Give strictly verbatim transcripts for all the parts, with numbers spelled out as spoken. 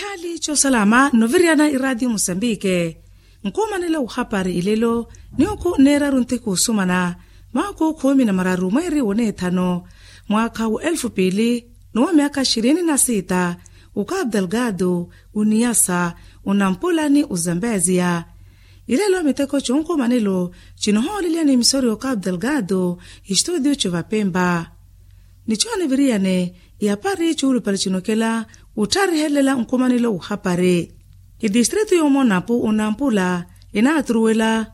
Hali cosalama noviriyana iradio musambike. Nkumanela uhapari ilelo niuku neeraru ntiku usumana maku khumi na mararu mweri wonethano mwaka wa elfu pili nuwa myaka shirini na sita. Uka abdelgado uniyasa unampulani uzambezia ilelo miteko conkumanelo cinohoolelya ni misori oka abdelgado. Istudio covapemba ni cooniviriyane iyapari cuulupale cinokela uttharihelela nkumanelo uhapari. Idistritu yomonapu unampula inaaturuwela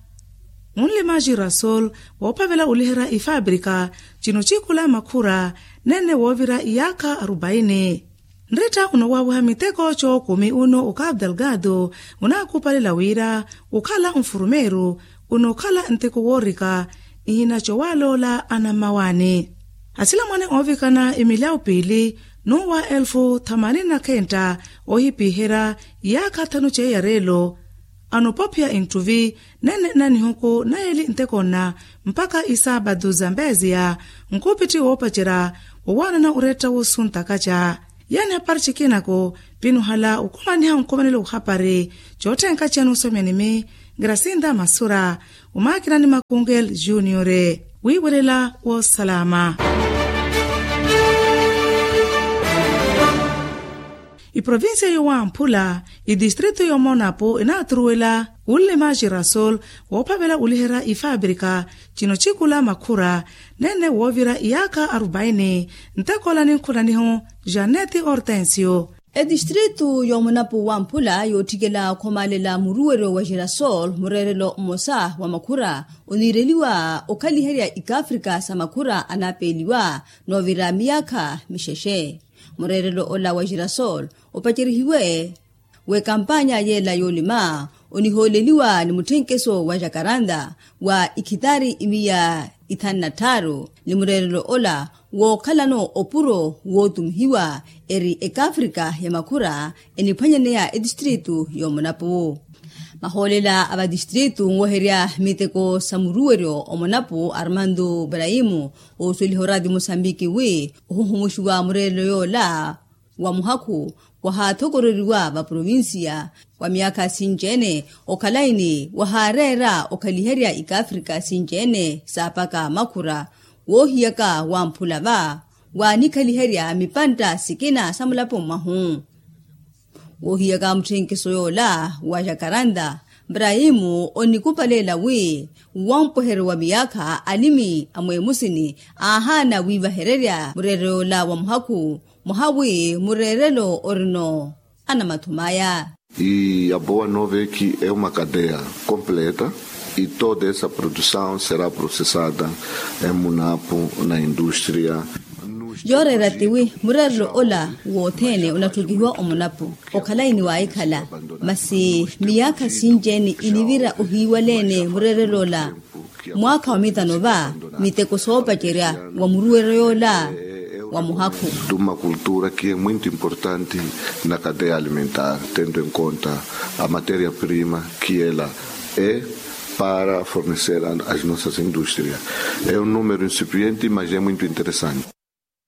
unlima girasol woophavela uliherya ifabrika cinocikula makhura nene woovira iyaakha arubaini. Nritta unowaawiha miteko cookumi uno uka abdelgado unaakupalela wira ukhala nfurumeeru unokhala nteko woorika ihina cowaaloola anammawaani. Asilamwane oovikana imilyawu piili nuwa elfu thamanini na khenta oohipiherya iyaakha thanu ceiya reelo anopophiya inttuvi nene na nihuku na yeeli nteko nna mpakha isaabatu zambeziya nkupitthi woopacerya wowaanana oretta wosuntakaca. Yaani hapari cikinako pinuhala okumaniha nkumanelo uhapari cootthenkaciyani osomyanimi grasinda masura omakinani makungel juniore wiiwelela woosalama. Iprovincia yowamphula idistritu yomonapo inaaturuwela unlima girasol woophavela uliherya ifabrika cinocikula makhura nene woovira iyaakha arubaini. Ntekola ninkhulanihu janeti hortensio. Etistritu yomunapu wamphula yootthikela khomaalela muruweryo wa girasol mureerelo mmosa wa makhura oniireliwa okhaliherya ikafrika sa makhura anaapeeliwa noovira miyaakha mixexe. Mureerelo ola wa girasol opacerihiwe w'ekampanya yeela yoolima onihooleliwa ni mutthenkeso wa jakaranda wa ikhitari imiya ithanu na tthaaru ni mureerelo ola wookhalano opuro wootumihiwa eri ekafrika ya makhura eniphwanyaneya etistritu yomunapu. Mahoolela a vatistritu nweherya miteko sa muruweryo omunapu armando braimu oosweliha orati musambiki wi ohuhumuxiwa mureerelo yoola wa muhakhu wahaathokoreriwa vaprovinsiya wa myaakha sinci-ene okhalayi ni wahaareera okhaliherya ikafrika sinci-ene saapaka makhura woohiyaka wamphula va waanikhaliherya mipantta sikina sa mulapo mwahu. Woohiyaka mutthenkiso yoola wa jakaranda braimu onikupalela wi wampweheryo wa miyaakha alimi a mweemusini aahaana wiivahererya mureerelo yoola wa muhakhu mwaha wi mureerelo orino anamathumaya. E a boa nova é que é uma cadeia completa e toda essa produção será processada em munapo na indústria. Yooreera tiwi mureerelo ola wothene onatthukihiwa omunapo okhalayi ni waahikhala masi miyaakha sinci-ene inivira ohiiwaleene mureerelo ola mwaakha wa mitano va miteko soopacerya wa muruweryo yoola wa muhakhu. De uma cultura que é muito importante na cadeia alimentar tendo em conta a matéria prima que ela é para fornecer as nossas indústrias. É um número incipiente mas é muito interessante.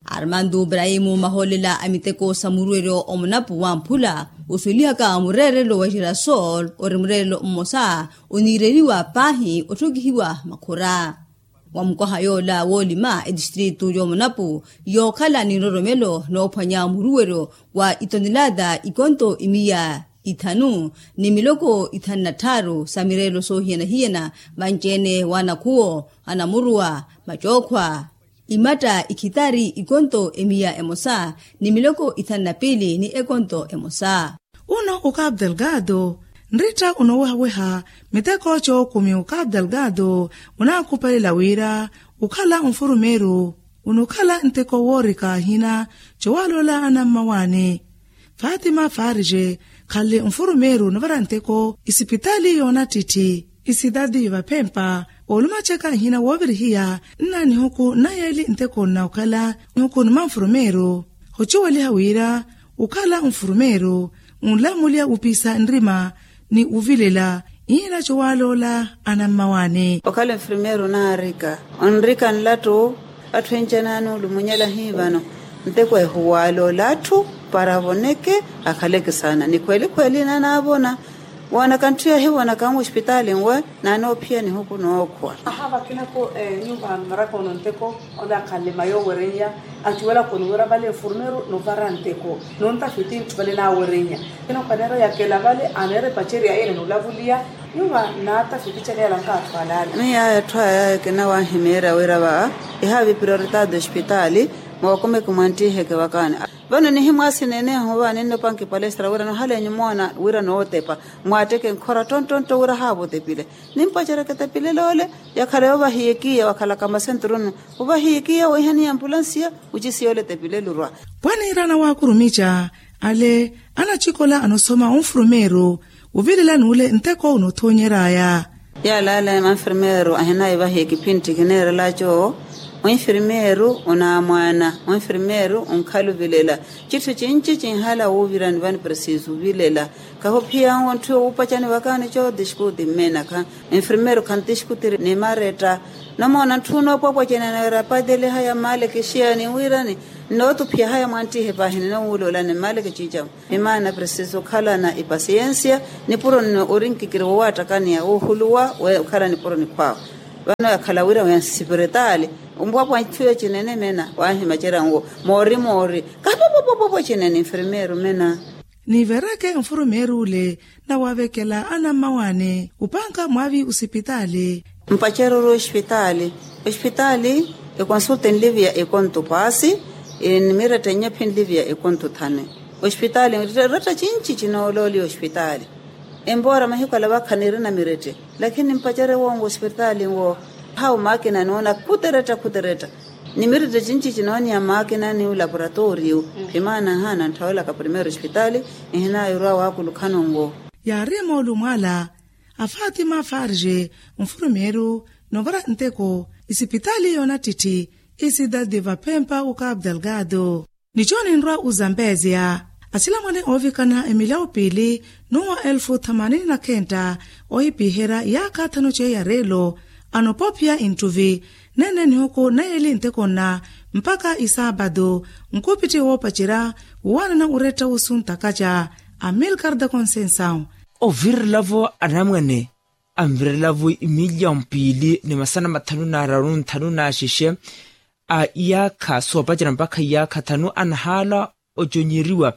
Armando braimu mahoolela a miteko sa muruweryo omunapu wamphula oswelihaka mureerelo wa girasol ori mureerelo mmosa oniireliwa paahi otthokihiwa makhura wa mukwaha yoola woolima etistritu yoomunapu yookhala ni nroromelo noophwanya muruweryo wa itonelata ikonto imiya ithanu ni miloko ithanu na tthaaru sa mireelo soohiyana-hiyana vanci-ene w'anakhuwo anamuruwa macookhwa imatta ikhitari ikonto emiya emosa ni miloko ithanu na piili ni ekonto emosa. Uno uka abdelgado nritta unowehaweha miteko cookumi uka abdelgado unaakupalela wira ukhala nfurumeeru unukhala nteko woorika ahina cowaaloola anammawaani. Fatima farije khanle nfurumeeru nuvara nteko isipitaali yoonattitti isidadi vaphempa oolumacaka nhina woovirihiya nna nihuku nna yeeli nteko nna okhala nihuku numa nfurumeeru. Ocuweliha wira okhala nfurumeeru onlamulya opiisa nrima ni ovilela nhina cowaaloola anammawaani. Okhala nfurumeeru onaarika onrika nlattu atthu encanani olumunyela hii vano nteko ehuwaaloola atthu Para avoneke akhaleke saana ni khweli khweli nanaavona. Woonaka nthu yahivonaka nwe ospitaali nwe naanoophiya nihuku nookhwa. Aha vakinako nyumba maraka ono nteko. Ole akhanle mayo owereinya acuwelaka oniwira vale nfurmeru novara nteko nontafiti nthu vale nawereinya. Ino kaneera yakela vale aneera epacerya ene nolavuliya. Nyumba naatafiti cale yalanka atthu alaale. Miyo aya atthu aya kinawahimeerya wira va ihavi prioritaado ospitaali. Mookomeke mwanttiheke vakaani. Vano nihimwaasi neneeho va ninnopanki palestra wira nohalenyu moona wira nootepa. Mwaatteke nkhora ttonttontto wira haavotepile. Nimpacereke tepilele ole yakhala yoovahiyekiya wakhalaka masentrunu. Ovahiyekiya weiha ni ampulansiya. Wucisiya ole tepilele orwa. Pwaniirana waakurumica ale anacikola anosoma onfurumeeru ovilela n'ule nteko onothoonyer'aya. Yaalaala manfirmeeru ahinaivahiye kipintti kineerelaco. Onfirmeeru onaamwaana onfirmeeru onkhala ovilela. Citthu cinci cinhala wuuvirani vani presiso ovilela. Kahuphiyanwo ntthu yowuupacani vakaani co diskuti mmenaka. Enfirmeeru khantiskuti ni maretta. Nomoona ntthu noopwapwa cene neera patele haya mmaleke xiyani wiirani. Nnootuphiya haya mwanttihe paahi ninowuula olani mmaleke ciicamu. Imaana presiso okhalana ipasiyensiya. Nipuro nno orinkikiri wowaattakaniya woohuluwa. Okhala nipuro nikhwaawe. Vano yakhala wira wensipiritali. Ompwapwa ntthu yo cinene mena waahimacerya nwo moori moori. Kahapopopopopwe cinene enfirmeeru mena. Niivereke nfurumeeru ole nawavekela anammawaani upanka mwaavi osipitaali. Mpacereryo ospitaali. Ospitaali ekonsulta enliviya ekonto paasi. Nimiretta nnyaphi enliviya ekonto thanu. Ospitaali eretta cinci cinoolooliwa ospitaali. Empoora mahiku ala vakha niirina mirette. Lakini nimpacereryo wonwo ospitaali nwo hau maakina noona khuteretta khuteretta. Ni mirette cinci cinooniya maakina ni olaporatooriyo. Phimaana nhaana ntthaawelaka primeiro ospitaali. Ehinaayo orwa waakulukhano nwo. Yaari moolumo ala a fatima farge nfurumeeru novara nteko isipitaali yoonattitti. Isidadi vaphempa okapu delgado. Nico ninrwa ozambezia asilamwane oovikana emilyawo piili n'uwa elfu thamanini na khenta. Ohipiherya iyaakha thanu ceiya reelo anoopophiya inttuvi nene nihuku nayeeli nteko nna mpakha isaapatu. Nkupitti woopacerya wowaanana oretta osuntakaca amilkar da conceição. Ovirelavo anamwane anvirelavo imilyawo piili ni masana mathanu na araru nthanu na axexe a iyaakha soopacera mpakha iyaakha thanu anahaala oconyeriwa.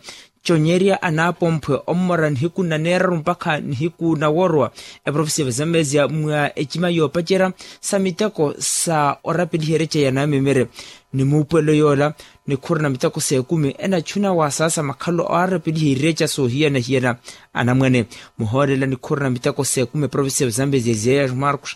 Conyerya anaapomphwe ommora nihiku na neeraru mpakha nihiku na worowa. Eprovincia vazambezia mwa ecima yoopacera sa miteko sa orapeliha ereca ya namemere ni muupwelo yoola nikhuru na miteko s'ekumi enachuna waasaasa makhalelo aarapeliha ireca soohiyana-hiyana. Anamwane muhoolela nikhuru na miteko s'ekumi eprovincia vazambezia ziyayaxu marcos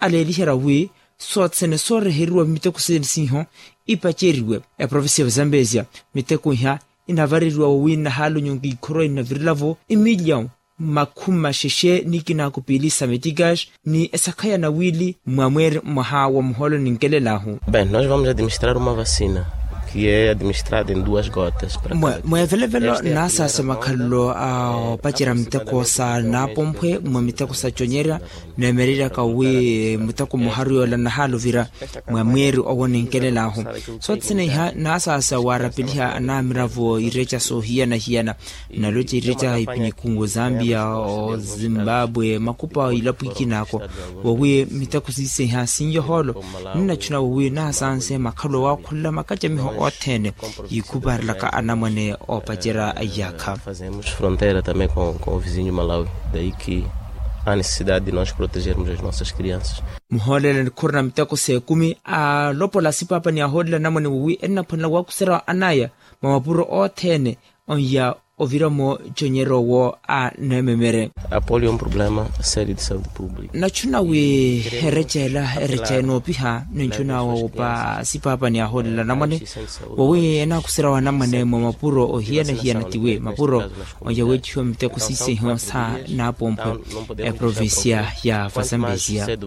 aleeliherya wi soothene sooreheriwa miteko sene siiho ipaceriwe. Eprovincia vazambezia miteko iha inavareriwa wowi nnahaala onyonki ikhorwa inavirelavo imilyawo makhumi maxexe ni kinaaku piili sa metigas ni esakhaya na wiili mwa mweeri mwaha wa muhoolo ninkelelaahu. Bem nós vamos administrar uma vacina que é administrada em duas gotas. Mweevelevelo naasaasa makhalelo a opacerya miteko sa naapomphwe mwa miteko sa conyerya neemereryaka wi muteko muharu yoola nnahaala ovira mwa mweeri owo ninkelelaahu. Sothene iha naasaasa waarapeliha anaamiravo ireca soohiyana-hiyana naloca ireca ipinikhu ozambia ozimbabwe makhupa ilapo ikinaako wowi miteko siiseha sinyohoolo. Ninachuna wowi naasanse makhalu owaakhulela makacamiho othene yiikhuparelaka anamwane oopacerya a iyaakha. Fronteira também com o vizinho malawi daí que há necessidade de nós protegermos as nossas crianças. Muhoolela nikhuru na miteko s'ekumi alopola asipaapa ni ahoolela anamwane wowi ennaphwanela waakuserawa anaya mwa mapuro othene onya ovira-mo conyerya owo a neememere. Apolio é um problema sério de saúde pública. Nachuna wi ereca ela ereca enoopiha ninchuna woopa asipaapa ni ahoolela anamwane wowi enaakuserawa anamwane mwa mapuro ohiyana-hiyana tiwi mapuro onya weecihiwa miteko siisehiwa sa naapomphwe eprovincia ya vazambezia.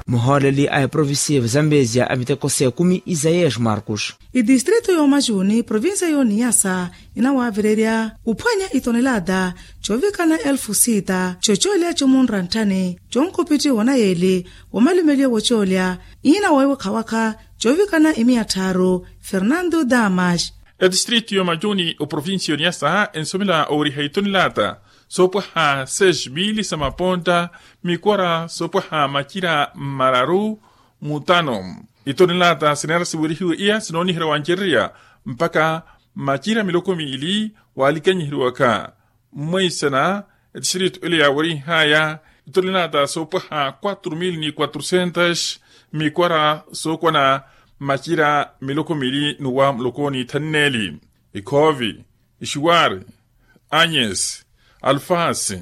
Muhooleli a eprovincia ya vazambezia a miteko s'ekumi isaías marcos. Itistrito y'omachuni provincia y'oniyasa inawaavirerya uphwanya itonelata coovikana elfu sita coocoolya comunra ntthani conkupitthi wonayeli womalumeliwa wocoolya iina woowikhawakha coovikana imiya tthaaru fernando damas. Etistritu y'omacuni oprovincia y'oniyasa ensomela oweriha itonelata soopwaha seis mili sa maponta mikwara soopwaha macira mmararu mutano. Itonelata sineera siwerihiwe iya sinooniherya wancererya mpaka macira miloko miili waalikanyiheriwaka. Mmweisana etistritu ele yaawerihaya itonelata soopwaha quatro mil ni quatrocentos mikwara sookwana macira miloko miili n'uwa muloko n'ithanneeli. Ikhoovi, ixiwari, anyesi, alufasi,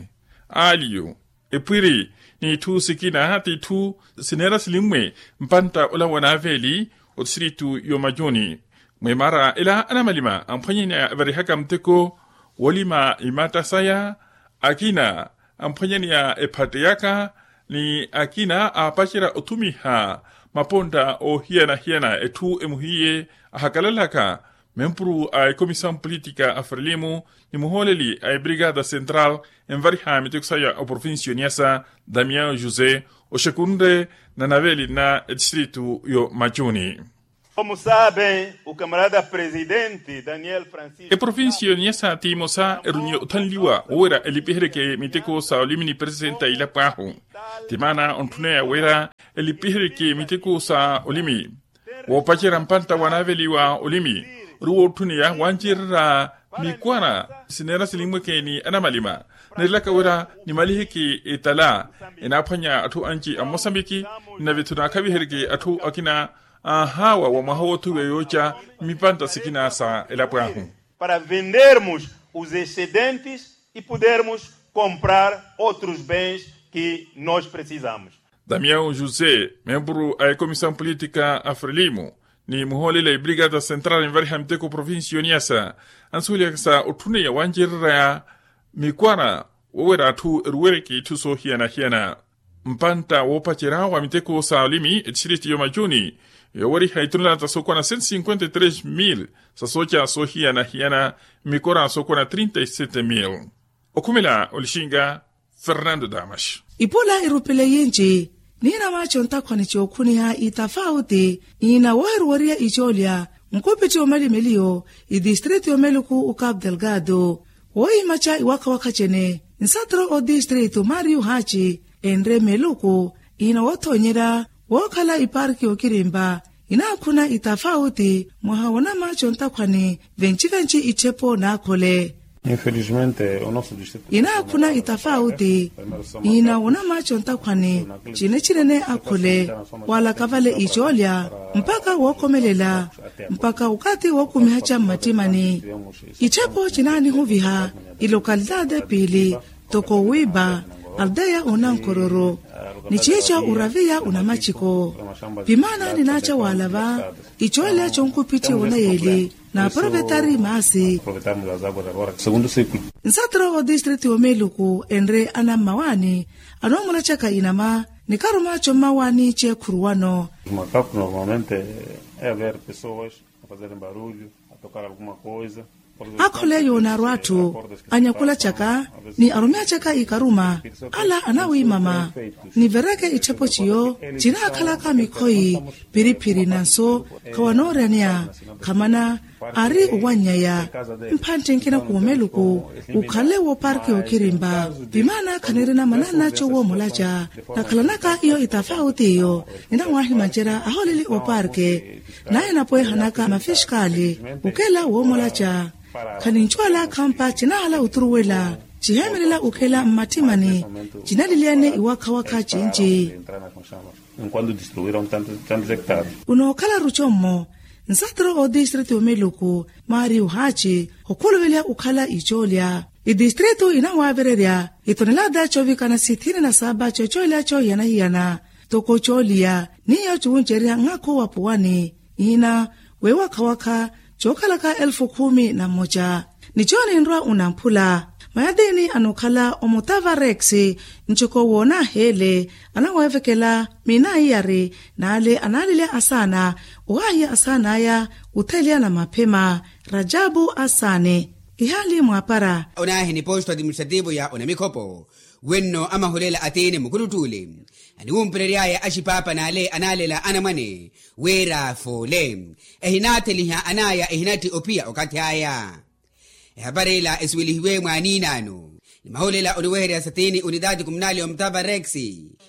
aliyu, epwiri, n'itthu sikina t'itthu sineera silimmwe mpantta ola wa naaveeli otistritu y'omacuni. Mwimaara ela anamalima amphwanyani avarihaka muteko woolima imatta saya, akina amphwanyani a ephatteyaka ni akina aapacerya othumiha mapontta oohiyana-hiyana etthu emuhiye ahakalalaka. Memburu a ecomisaw politika a frelimo ni muhooleli a ebrigada central envariha miteko saya oprovincia y'oniyasa damiao josé oxekunre na naveeli na etistritu y'omacuni. Omusabe ukamarada presidenti daniel francisco eprovincia y'oniyasa ti emosa erunye othanliwa woowira elipihereke miteko sa olimi ni presenta ilapo ahu. Ti maana ontthuneya wira elipihereke miteko sa olimi woopacerya mpantta wanaaveliwa olimi ori wootthuniya wancererya mikwara sineera silimmweke ni anamalima. Neerelaka wira nimaliheke etala enaaphwanya atthu anci a mosambiki nave-tho naakhavihereke atthu akina anhawa wa mwaha woothuwiwa yooca mmipantta sikina sa elapo ahu. Para vendermos os excedentes e podermos comprar outros bens que nós precisamos. Damiao josé memburu a ecomisaw politika a frelimo ni muhooleli a ebrigada central envariha miteko oprovincia y'oniyasa ansuweliyaka sa otthuneya wancererya mikwara woowira atthu eruwereke itthu soohiyana-hiyana. Mpantta woopacerya wa miteko sa olimi etistritu y'omacuni yooweriha itonelata sookwana cento cinquenta e tres mil sa sooca soohiyana-hiyana mmikora sookwana trinta e sete mil. Okhumela olixinga fernando damas. Ipola irupile yinci niina maaco ntakhwani cookhuniha itafauti iina woohiruweriya icoolya nkupitthi omalimeliyo itistritu y'omeluku ukapu delgado woohimaca iwakha-wakha cene nsatro otistritu mario haci enre meluku iina woothonyerya wookhala iparki y'okirimpa inaakhuna itafauti mwaha wonamaaco ntakhwani venci-venci itthepo naakhole. Inaakhuna itafauti iina wonamaaco ntakhwani cine cinene akhole waalaka vale icoolya mpaka wookomelela mpaka okathi wookumihaca mmattimani. Itthepo cinaanihuviha ilokalitaati epiili toko wiipa aldeya onankororo ni ciico uraviya unamaciko. Pimaana ninaaca waalava icoolya conkupitthi wonayeli na aprovetari maasi. Nsatro otistritu y'omeluku enre anammawaani anoomulacaka inama ni karuma commawaani ceekhuruwano. Akhole yoonaaru atthu anyakulacaka ni arumeacaka ikaruma ala anawiimama nivereke itthepo ciyo cinaakhalaka mikhoyi phiriphiri nanso khawanooreaniya khamana ari owannyaya mphantti nkina khuumeluku ukhale wooparki okirimpa. Pimaana khanirina mananna cowoomulaca nakhalanaka iyo itafauti iyo ninawahimancerya ahooleli ooparki naye napweehanaka mafiskaali okela woomulaca. Khanincuwala khampa cinahala oturuwela ciheemelela okela mmattimani cinaliliyane iwakha-wakha cinci. Unookhala rucommo nsatro otistritu y'omeluku mario haci okhuluveliha okhala icoolya itistritu inawaavererya itonelata coovikana sithini na saapa cocoolya coohiyana-hiyana toko cooliya n'iyo cuwunceriha nngakhu wa puwani iina weewakha-wakha cookhalaka elfu khumi na mmoca. Ni cooni nrwa unamphula mayatiini anookhala omutava rex ncoko woonaheele anaweevekela miinaiyari n'ale anaalilya asaana owahiya asaan'aya otheliya na maphema. Rajabu asaani ihaali mwaapara. Onaahi ni posto administrativo ya onamikhopo Wenno amahulela atiini mukuluttuule aniwumperery'aya axipaapa n'ale anaalela anamwane wira foole ehinaatheliha an'aya ehinatti ophiya okathi aya. Ehapari ila esuwelihiwe mwaaniinaano ni mahulela oniweherya satini unitaati kumunali omutava rex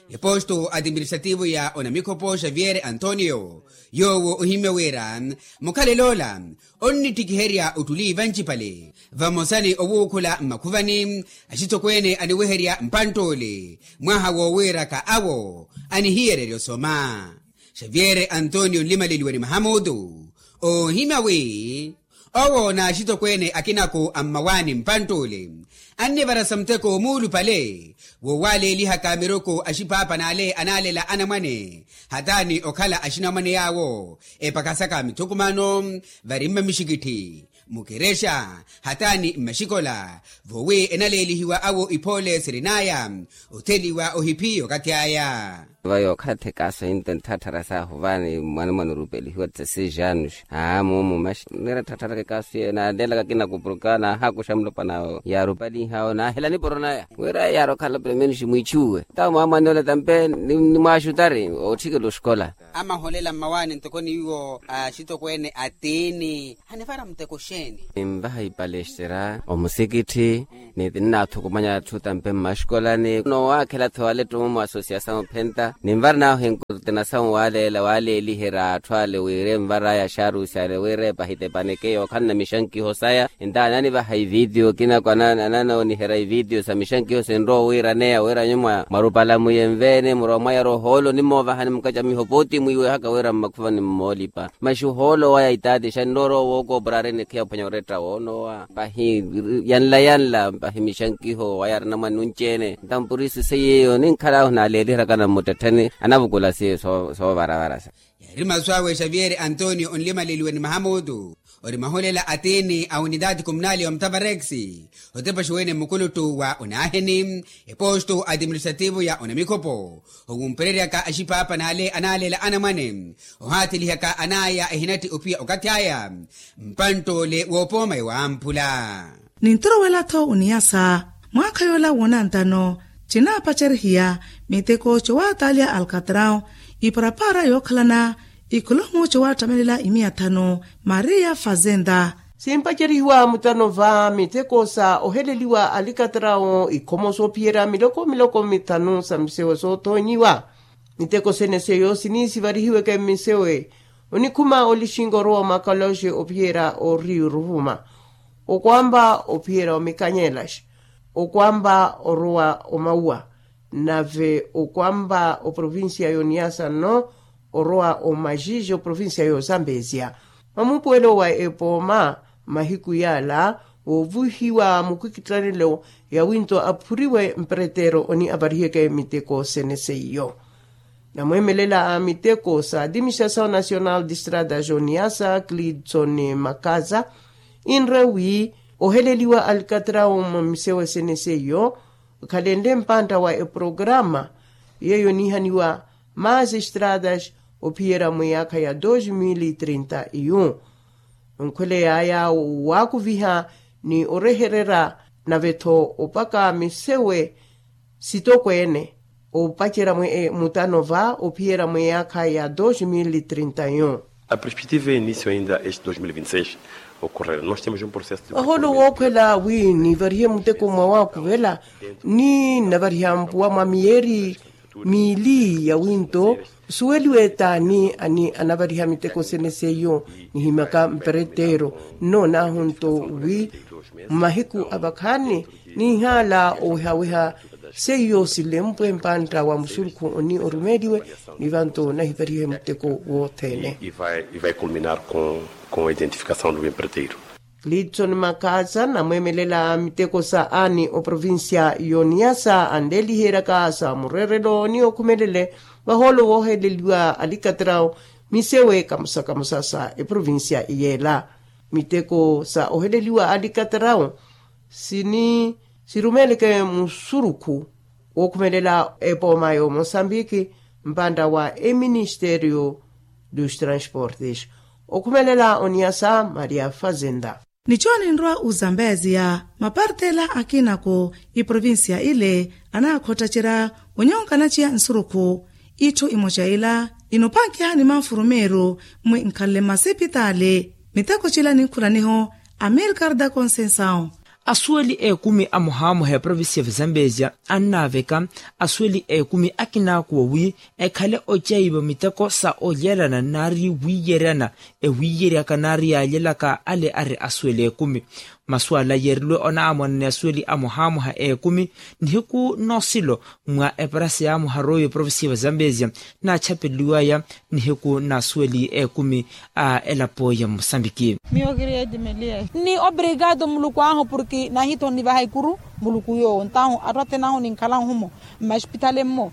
eposto atiministrativo ya onamikhopo xavier antonio yoowo ohimya wira mukhalelo ola onnittikiherya ottuli vancipale vamosa ni owuukhula mmakhuvani axitokweene aniweherya mpantt'ole mwaha woowiiraka awo anihiyererya osoma. Xavier antonio nlimaleliwe ni mahamutu oohimya wi owo n'axitokweene akinaku a mmawaani mpantt'ule annivarasa muteko muulupale woowaaleelihaka miruku axipaapa n'ale anaalela anamwane hataani okhala axinamwane yaawo epakasaka mithukumano vari mmamixikitthi mukerexa hataani mmaxikola voowi enaleelihiwa awo iphoole sirin'aya otheliwa ohiphi okathi aya. Vayo okhala tthekaaso into ntthatthara saahu vaani mwanamwana orupelihiwa tsa seis anos aa muumu maxi nira tthaattharaka ekaaso yeyo naalelaka kinakupuruka naahakuxa mulopwana yaarupalihawo naahela niporo naya wira yaari okhala pelo menos mwiichuwe tawo mwaamwan'ole tampe nimwaaxutari ootthikela oxikola. Amaholela mmawaani ntoko niwo axitokweene atiini hanivara muteko xeeni? Ninvaha ipalestra omusikitthi ni ninaathukumanya atthu tampe mmaxikolani noowaakhela-tho wale ttumo mu asosiasawu ophenta ninvara naahu enkurutinasawu waaleela waaleeliherya atthu ale wira envar'aya axaarusi ale wira epahitepaneke yookhalana mixankiho saya ntaani anivaha ivitiyo kinaku ananooniherya ivitiyo sa mixankiho sinrowa owiiraneya wira nyuwo mwarupala muyenveene murowa mwayara ohoolo onimoovahani mukacamiho pooti mwiiwehaka wira mmakhuvani mmoolipa maxi ohoolo waya itaatixa nnoorowa wookoopura ari nikhiya ophwanya oretta woonoowa pahi yanla yanla pahi mixankiho waya ari anamwane nunci-ene ntampurisise yeeyo ninkhal'ahu naaleeliheryakana mmuttettheni anavukula siyo soovaravara sa. Yaari masu awe xavier antonio onlimaleliwe ni mahamutu ori mahulela atiini a unitaati kumunali wa mutavarex otepaxiwene mukuluttu wa onaaheni eposto atiministrativo ya onamikhopo owumpereryaka axipaapa n'ale anaalela anamwane ohaathilihaka an'aya ehinatti ophiya okathi aya mpantt'ole woopooma ewamphula. Nintorowela-tho oniyasa mwaakha yoola woonantano cinaapacerhiya miteko cowataliya alkatrau iparapara yookhalana ikolomu cowattammelela imiya thanu maria fazenda. Simpacerihiwa mutano va miteko sa oheleliwa alikatrau ikhomo soophiyerya miloko miloko mithanu sa misewe soothonyiwa miteko sene seyo sinisivarihiweke mmisewe onikhuma olixinga orowa omakaloxe ophiyerya oriyu ruvuma okwamba ophiyerya omikanyelaxa okwamba orowa omauwa nave okwamba oprovincia yoniyasa nno orowa omaxixe oprovincia yozambezia mamupuwelo wa epooma mahiku yaala wovuhiwa mukwikittanelo yawinto aphuriwe mperetero oni apariheke miteko sene seiyo. Namweemelela a miteko sa adimistrasaw nasional distrata joniasa clidson makaza inre wi oheleliwa alikatrawo mwa misewe sene seiyo okhalenle mpantta wa eprograma yeyo niihaniwa maasi estratas ophiyerya mwiyaakha ya dos mil trinta e un. Nkhwele yaaya waakuviha ni orehererya nave-tho opaka misewe sitokweene opacerya mutano va ophiyerya mwiyaakha ya dos mil trinta e un. A perspectiva e início ainda este dos mil vinte e seis ocorrer nós temos um processo de ohoolo wookhwela wi nivarihe muteko mwa waakuvela ni navariha mpuwa mwa miyeeri miili ya winto suweliwe taani ani anavariha miteko sene seiyo nihimyaka mperetero nnoonaahu nto wi mmahiku avakhaani niihaala owehaweha seiyo silempwe mpantta wa musurukhu oni orumeeliwe ni vanto nahivarihe muteko wothene. Clidson makaza namweemelela miteko sa ani oprovincia yoniyasa anleeliheryaka sa murerelo ni okhumelele vahoolo wooheleliwa alikatrawo misewe kamosa kamosa sa eprovincia yeela. Miteko sa oheleliwa alikatrawo sini sirumeeleke musurukhu wookhumelela epooma y'omosambiki mpantta wa eministerio dos transportes okhumelela oniyasa maria fazenda. Nicho ninrwa ozambeziya mapartela akinako iprovincia ile anaakhottacerya onyonka naciya nsurukhu. Itthu imoca ila inophankiha ni manfurumeeru mwi nkhanle mmasipitali. Miteko cila ninkhulaniho amirkarda concensao. Asuweli ekumi amuhaamuha eprovincia vizambesia annaaveka asuweli ekumi akinaakuwa wi ekhale ocaiva miteko sa olyelana nari wiyeryana ewiyeryaka nari yalyelaka ale ari asuweli ekumi. Masu ala yeerilwe onaamwana ni asuweli amuhaamuha ekumi nihiku nosilo mwa eparasi yaamuha royo eprovincia vizambesia naachapeliwaya nihiku na asuweli ekumi a elapo ya musambiki. Miyo kiri edimeliya ni obrigado muluku ahu porke nahitho nivaha ikuru muluku yoowo ntahu atthu athene ahu ninkhala nhumo mmaxipithale mmo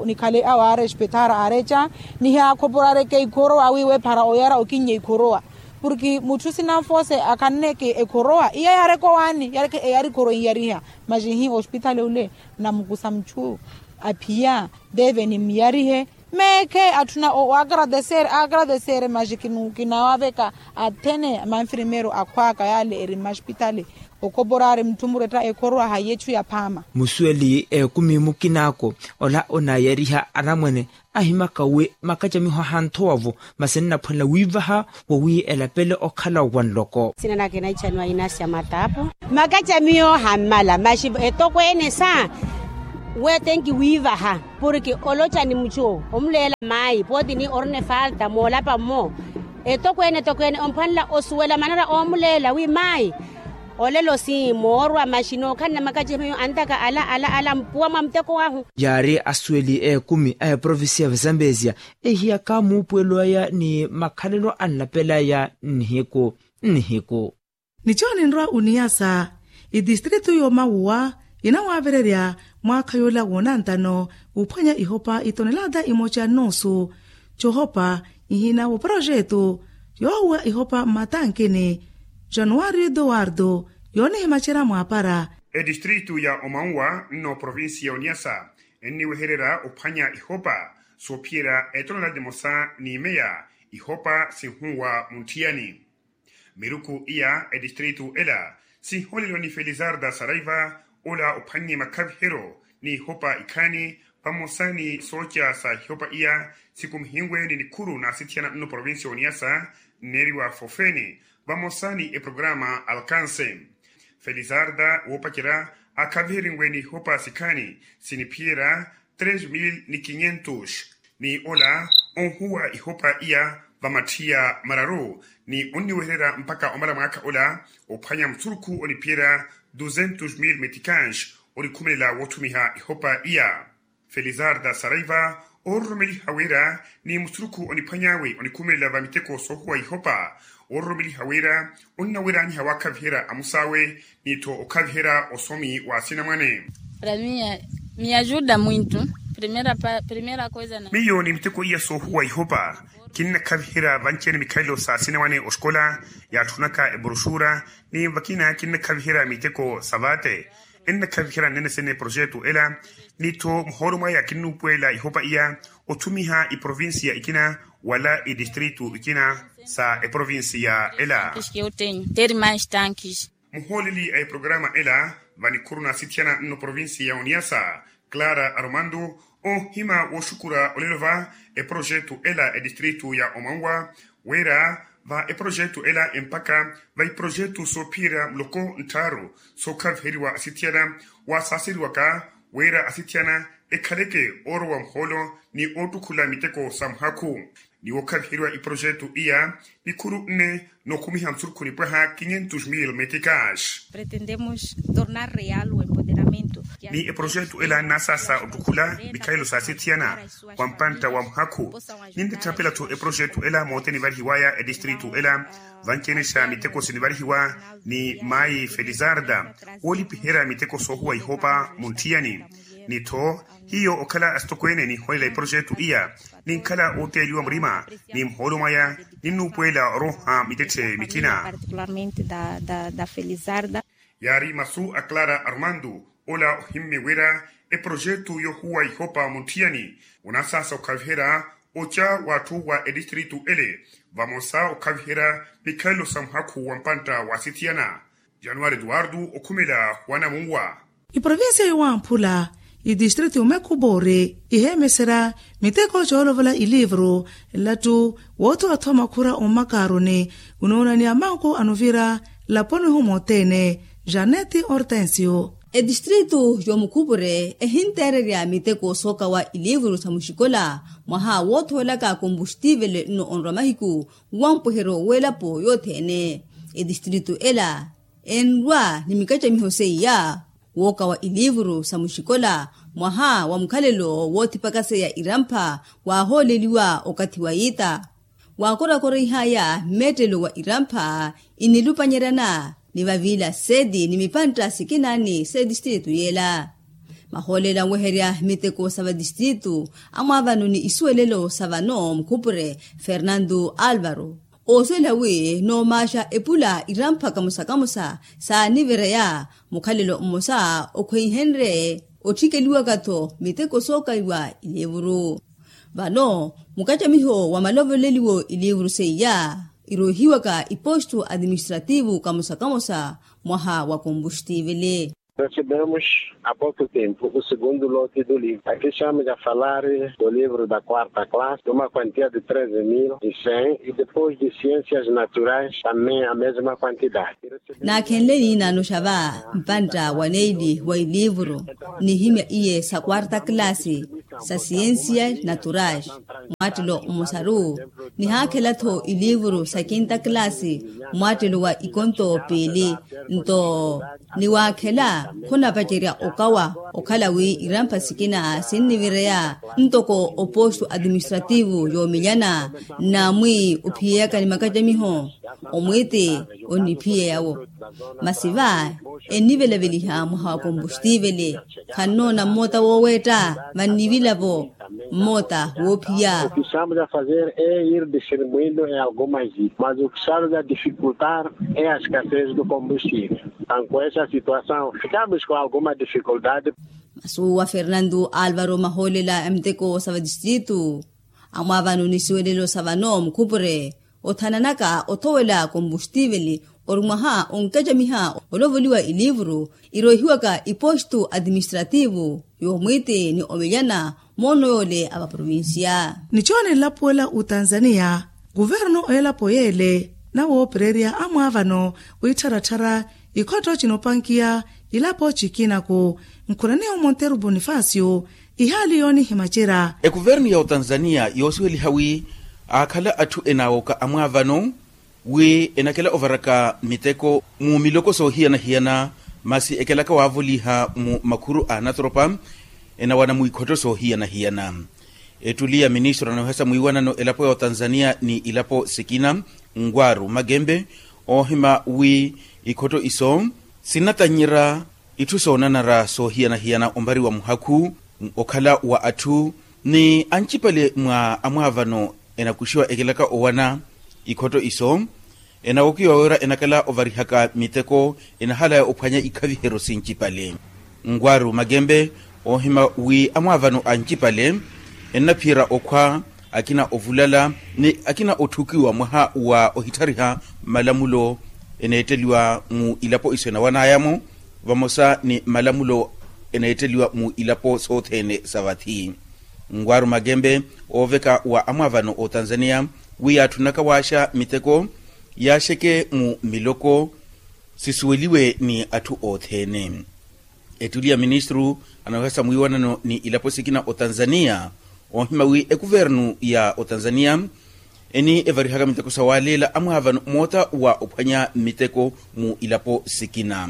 nikhale awaarespetara aareca nihiyakhoporareke ikhorowa wiiwe para oyara okinnya ikhorowa porke mutthu sinanfose akhanneke ekhorowa iya yaareka owaani eyari khorowa inyariha maxi hi ospithale ole namukusa mutthu aphiya deve nimmiyarihe meekhe atthuna oagradesere agradesere maxi kinawaveka athene manfirimeero akhwaka yale eri mmaxipithale okhoporari mutthu muretta ekhorowa hayi etthu yaphaama. Musuweli ekumi mukinaako ola onaayariha anamwane ahimaka wi makacamiho ahanthowavo masi nnaphwanela wiivaha wowi elapele okhala wa nloko. Sina nake naicaniwa inasia matapo makacamiho hammala maxi etokweene sa wetenki wiivaha porke oloca ni mucu omuleela mayi pooti ni orina efalta moolapa mmo etokweene etokweene omphwanela osuwela manara oomuleela wi mayi olelo si moorwa maxi nookhalana makacamiho antaka ala ala ala mpuwa mwa muteko wahu. Yaari asuweli ekumi a eprovincia vizambesia ehiyaka muupuwelo aya ni makhalelo anlapelaya nnihiku nnihiku. Nicho ninrwa oniyasa itistritu y'omawuwa yinawaavererya mwaakha yoola woonantano wuphwanya ihopa itonelata imoca nnoosu cohopa ihina w'oprojetu yoohuwa ihopa mmatankini. Januwario eduwardo yoonihimacerya mwaapara. Etistritu ya omawuwa nno provinsi ya oniyasa enniwehererya ophwanya ihopa soophiyerya etonelata emosa ni meya ihopa sinhuwa muntthiyani. Miruku iya etistritu ela sihooleliwa ni felizarda saraiva ola ophwannye makhaviheryo ni ihopa ikhaani vamosa ni sooca sa ihopa iya sikumihiwe ni nikhuru na asithiyana nno provinsi ya oniyasa nneeriwa fofene vamosa ni eprograma alkanse. Felizarda woopacerya akhaviheriwe ni ihopa sikhaani siniphiyerya tres mil ni kinyentos ni ola onhuwa ihopa iya vamathiya mararu ni onniwehererya mpakha omala mwaakha ola ophwanya musurukhu oniphiyerya duzentos mil meticans onikhumelela woothumiha ihopa iya. Felizarda saraiva oororomeliha wira ni musurukhu oniphwany'awe onikhumelela va miteko soohuwa ihopa oororomeliha wira onnaweranyiha waakhaviherya amus'awe ni-tho okhaviherya osomi wa asinamwane. Para mia mia ajuda mwintu. Primera coisa na miyo ni miteko iya soohuwa ihopa kinnakhaviherya vanci-ene mikhalelo sa asinamwane oxikola yaatthunaka ebroxura ni vakina kinnakhaviherya miteko sa vaate. Ennakhaviherya nnene sene projetu ela ni-tho muhoolo mwaya kinnuupuwela ihopa iya othumiha iprovincia ikina wala itistritu ikina sa eprovincia ela. Muhooleli a eprograma ela vanikhuru na asithiyana nno provincia ya oniasa clara aromando onhima wooxukura olelo va eprojetu ela etistritu ya omanwa wira va eprojetu ela empaka va iprojetu soophiyerya muloko nttharu sookhaviheriwa asithiyana waasaaseriwaka wira asithiyana ekhaleke oorowa muhoolo ni oottukhula miteko sa muhakhu. Ni wookhaviheriwa iprojetu iya nikhuru nne nookhumiha musurukhu nipwaha quinhentos mil meticas. Pretendemos tornar real o empoderamento. Ni eprojetu ela nnasaasa ottukhula mikhalelo sa asithiyana wa mpantta wa muhakhu. Nintthaphela-tho eprojetu ela moote nivarihiwaya etistritu ela vanci-ene xa miteko sinivarihiwa ni mayi felizarda woolipiherya miteko soohuwa ihopa munthiyani. Ni-tho hiyo okhala asitokweene ninholela eprojetu iya ninkhala ooteeliwa murima ni muhoolo mwaya ninnuupuwela oroha mittetthe mikina. Yaari masu a clara armando ola ohimmye wira eprojetu yoohuwa ihopa munthiyani onasaasa okhaviherya oca w'atthu wa etistritu ele Vamosa okhaviherya mikhalelo sa muhakhu wa mpantta wa sithiyana. Januwari eduwardu okhumela wa namunwa. Iprovincia yowamphula, idistritu yomekhupoori iheemeserya miteko coolovola ilivuru nlattu woothowathoma khura ommakaaruni. Unoonaniya manku anuvira laponi humothene. Janeti hortensio. Etistritu yomukhupure ehinteererya miteko sookawa ilivuru sa muxikola mwaha woothowelaka kombuxtivele nno onrwa mahiku wa mpwehero w'elapo yothene. Etistritu ela enrwa ni mikacamiho seiya wookawa ilivuru sa muxikola mwaha wa mukhalelo woothipakaseya irampha waahooleliwa okathi wa yiita. Waakorakoreihaya mmeettelo wa irampha inilupanyeryana ni vavila seti ni mipantta sikina ni setistritu yeela. Mahoolela nweherya miteko sa vatistritu amwaavano ni isuwelelo sa vano mukhupure fernandu alvaro oosuwela wi noomaaxa epula irampha kamosa kamosa saanivereya mukhalelo mmosa okhweihenrye otthikeliwaka-tho miteko sookaiwa ilivuru. Vano mukacamiho wa malovoleliwo ilivuru seiya irohiwaka ipostu atiministrativu kamosa kamosa mwaha wa kombuxtivele. Recebemos há pouco tempo o segundo lote do livro. Aqui estamos a falar do livro da quarta classe, de uma quantia de treze mil e cem, e depois de ciências naturais também a mesma quantidade. Naakhenle niinaano xa va mpantta wa neili wa ilivuru nihimya iye sa quarta classe sa ciências naturais mwaattelo mmosaru nihaakhela-tho ilivuru sa quinta classe mwaattelo wa ikonto piili. Nto niwaakhela khunapacerya okawa okhala wi irampha sikina sinnivireya ntoko opostu atiministrativu yoomelyana nnamwi ophiyeyaka ni makacamiho. Omwiiti onniphiyeya-wo masi va ennivelaveliha mwaha wa kombuxtivele khannoona mmoota wooweetta vannivila-vo mmoota woophiya. O que estamos a fazer é ir distribuindo em algumas ilhas mas o que estamos a dificultar é a escassez do combustível. Então com essa situação ficamos com alguma dificuldade. Masuwa fernandu alvaro mahoolela a miteko sa vatistritu amwaavano ni siwelelo sa vano mukhupure othananaka othowela kombuxtivele ori mwaha onkacamiha olovoliwa ilivuru irohiwaka ipostu atiministrativu yoomwiiti ni omelyana moono yoole a vaprovincia. Nichoone nlapuwela otanzania kuvernu elapo yeele nawoopererya amwaavano wiittharatthara ikhotto chinoopankiya ilapo cikinaku nkhuraniya omonteru bonifacio ihaali yoonihimacerya. Ekuvernu ya otanzania yoosiweliha wi aakhala atthu enaawoka amwaavano wi enakela ovaraka miteko mu miloko soohiyana-hiyana masi ekelaka waavoliha mu makhuru a anatoropa enawana mu ikhotto soohiyana-hiyana. Ettuli ya ministru anoohesa mwiiwanano elapo ya otanzania ni ilapo sikina nwaru makempe oohima wi ikhotto iso sinnatannyerya itthu soonanara soohiyana-hiyana ompari wa muhakhu okhala wa atthu ni ancipale mwa amwaavano enakuxiwa ekelaka owana ikhotto iso enawokiwa wira enakhala ovarihaka miteko enahalaya ophwanya ikhaviheryo sincipale. Nwaru makempe oohima wi amwaavano ancipale ennaphiyerya okhwa akina ovulala ni akina otthukiwa mwaha wa ohitthariha malamulo eneetteliwa mu ilapo iso enawanaya-mo vamosa ni malamulo eneetteliwa mu ilapo sothene sa vathi. Nwaru makempe ooveka wa amwaavano otanzania wi yaatthunaka waaxa miteko yaaxeke mu miloko sisuweliwe ni atthu othene. Ettuli ya ministru anoohesa mwiiwanano ni ilapo sikina otanzania oohima wi ekuvernu ya otanzania eni evarihaka miteko sawaaleela amwaavano moota wa ophwanya miteko mu ilapo sikina.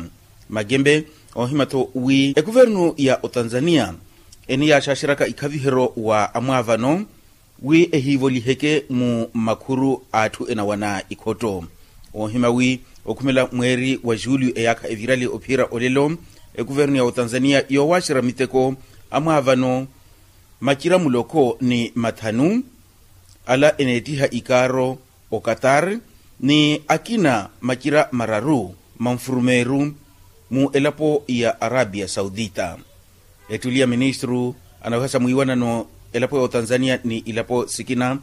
Makempe oohima-tho wi ekuvernu ya otanzania eni yaaxaxeryaka ikhaviheryo wa amwaavano wi ehiivoliheke mu makhuru a atthu enawana ikhotto. Oohima wi okhumela mweeri wa juliyu eyaakha evirali ophiyerya olelo ekuvernu ya otanzania yoowaxerya miteko amwaavano macira muloko ni mathanu ala eneettiha ikaaro okatar ni akina macira mararu manfurumeeru mu elapo ya arabia saudita. Ettuli ya ministru anoohesa mwiiwanano elapo ya otanzania ni ilapo sikina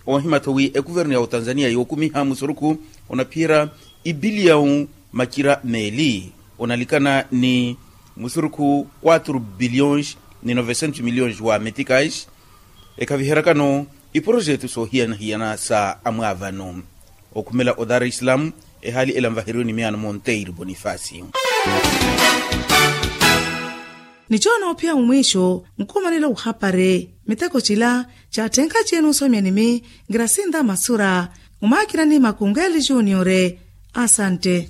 Oohimya-tho wi ekuvernu ya otanzania yookumiha musurukhu onaphiyerya ipiliyawu macira meeli onalikana ni musurukhu quatro bilhões ni novecentos milhões wa meticais ekhaviheryakano iporojetu soohiyana-hiyana sa amwaavano. Okhumela odar islam ehaali ela nvaheriwe ni miyaano monteiro bonifasi. Ni coona ophiya mumwiixo nkhumanela ohapari miteko cila caatthenkha ciya nuusomya nimi. Ngirasinta masura mumaakirani makungeeli juniore. Asante.